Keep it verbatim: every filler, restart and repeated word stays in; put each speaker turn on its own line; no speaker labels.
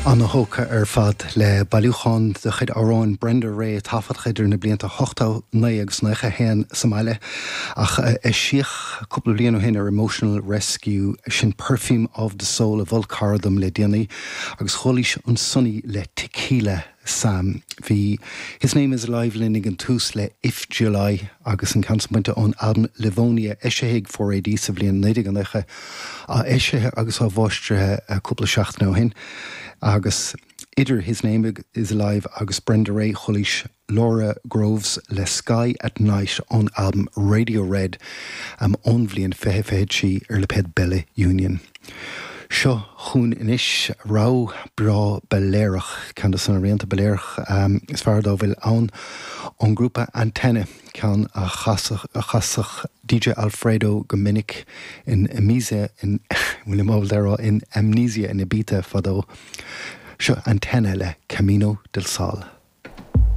Ana-thógtha ar fad le bailiúchán de chuid amhráin Brenda Ray taifeadta idir na blianta ochtó naoi agus nócha haon sa mbaile ach eisíodh cúpla bliain ó shin ar Emotional Rescue sin Perfume of the Soul a mhol cara dom le déanaí agus chualaís an Sonny le Tequila Sam. Bhí His Name is Alive linn ag an tús le If July agus an ceann sin bainte ón albam Livonia eisithe ag four AD sa bhliain naoi déag nócha á eisithe agus á mháistrithe cúpla seachtain ó shin. agus idir His Name is Alive agus Brenda Ray chualaís Laura Groves le Sky at Night ón albam Radio Red um, ón bhliain fiche fiche trí ar lipéad Bella Union. Seo chugainn anois rogha breá Bailéarach ceann de na rianta Bailéarach um, is fearr dá bhfuil ann ón grúpa Antenna ceann a chasadh DJ Alfredo go minic in Amnesia in William in Amnesia in Ibiza fadó. Seo Antenna le Camino del Sol.